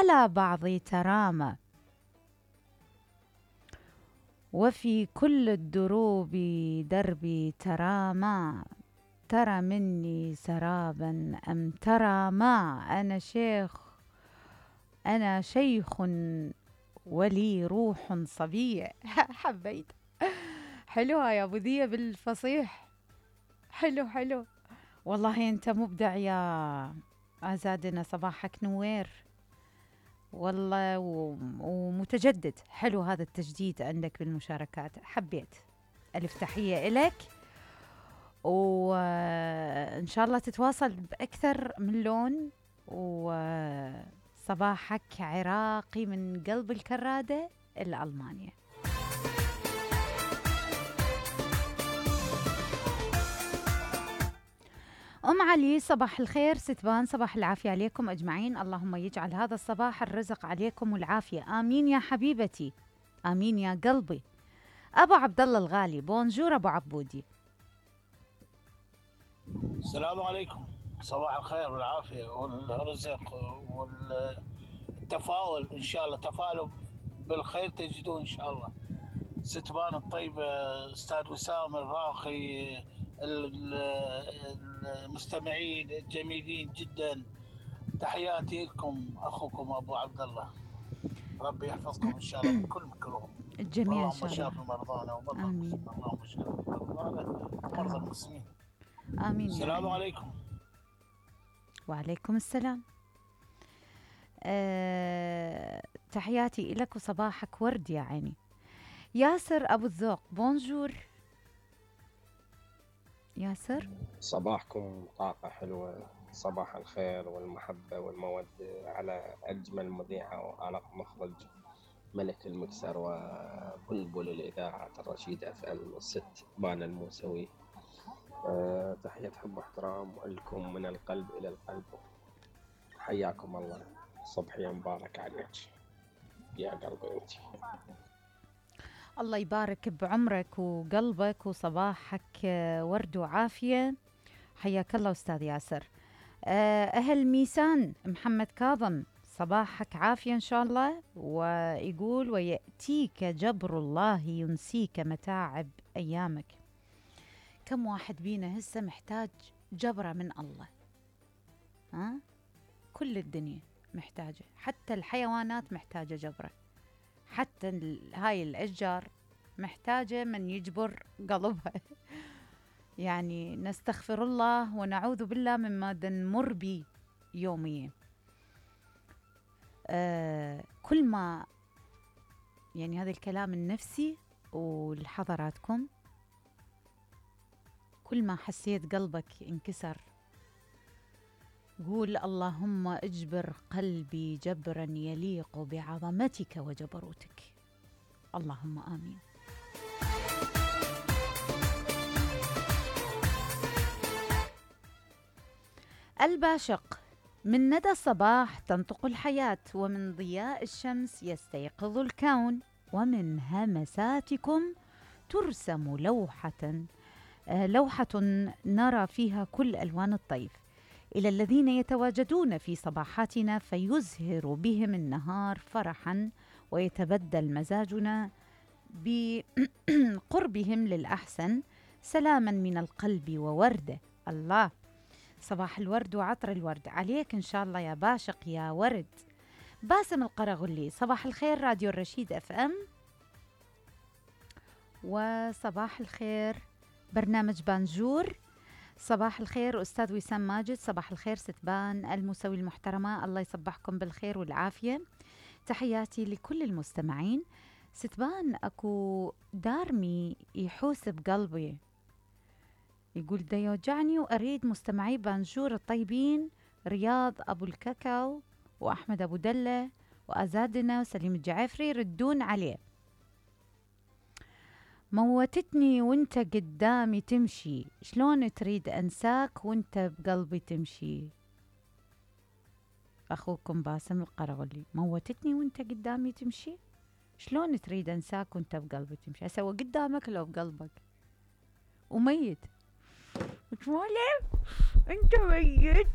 على بعض ترامى، وفي كل الدروب دربي ترامى، ترى مني سرابا أم ترى ما. أنا شيخ ولي روح صبية. حبيت. حلوة يا أبو ذية بالفصيح. حلو والله أنت مبدع يا أزادنا، صباحك نوير والله ومتجدد. حلو هذا التجديد عندك بالمشاركات، حبيت. ألف تحية إلك، وإن شاء الله تتواصل بأكثر من لون، وصباحك عراقي من قلب الكرادة إلى ألمانيا. أم علي صباح الخير ستبان، صباح العافية عليكم أجمعين، اللهم يجعل هذا الصباح الرزق عليكم والعافية، آمين يا حبيبتي، آمين يا قلبي. أبو عبد الله الغالي، بونجور أبو عبودي. السلام عليكم، صباح الخير والعافية والرزق والتفاؤل إن شاء الله، تفاؤلوا بالخير تجدون إن شاء الله. ستبان الطيبة، أستاذ وسام الراقي، المستمعين الجميلين جدا، تحياتي لكم. أخوكم أبو عبد الله، ربي يحفظكم إن شاء الله من كل مكروه. الجميع إن شاء اللهم الله. شافي مرضانا ومرضى آمين. المسلمين، اللهم شافي مرضانا ومرضى المسلمين. آمين. السلام عليكم. وعليكم السلام. تحياتي إلك وصباحك ورد يا عيني. ياسر أبو الذوق، بونجور ياسر. صباحكم طاقة حلوة، صباح الخير والمحبة والمودة على أجمل مذيعة وعلى مخرج ملك المكسر وبلبل الإذاعة الرشيد FM الست بان الموسوي. تحية حب واحترام لكم من القلب إلى القلب، حياكم الله، صبحية مبارك عليك يا قلبي أنت. الله يبارك بعمرك وقلبك وصباحك ورد وعافية، حياك الله أستاذ ياسر. أهل ميسان محمد كاظم، صباحك عافية إن شاء الله، ويقول ويأتيك جبر الله ينسيك متاعب أيامك. كم واحد بينا هسه محتاج جبرة من الله، كل الدنيا محتاجة، حتى الحيوانات محتاجة جبرة، حتى هاي الأشجار محتاجة من يجبر قلبها. يعني نستغفر الله ونعوذ بالله مما نمر به يوميا. كل ما يعني هذا الكلام النفسي ولحضراتكم، كل ما حسيت قلبك انكسر قول اللهم اجبر قلبي جبرا يليق بعظمتك وجبروتك، اللهم آمين. الباشق، من ندى الصباح تنطق الحياة، ومن ضياء الشمس يستيقظ الكون، ومن همساتكم ترسم لوحة نرى فيها كل ألوان الطيف، إلى الذين يتواجدون في صباحاتنا فيزهر بهم النهار فرحا، ويتبدل مزاجنا بقربهم للأحسن سلاما من القلب وورده. الله، صباح الورد وعطر الورد عليك إن شاء الله يا باشق يا ورد. باسم القرغلي، صباح الخير راديو الرشيد FM، وصباح الخير برنامج بانجور، صباح الخير أستاذ وسام ماجد، صباح الخير ستبان الموسوي المحترمة، الله يصبحكم بالخير والعافية. تحياتي لكل المستمعين. ستبان أكو دارمي يحوس بقلبي، يقول دا يوجعني وأريد مستمعي بانجور الطيبين، رياض أبو الكاكاو وأحمد أبو دلة وأزادنا وسليم الجعفري يردون عليه. موتتني وانت قدامي تمشي، شلون تريد أنساك وانت بقلبي تمشي. أخوكم باسم القرغلي، موتتني وانت قدامي تمشي، شلون تريد أنساك وانت بقلبي تمشي. أسوى قدامك لو بقلبك وميت وتمولي انت ميت.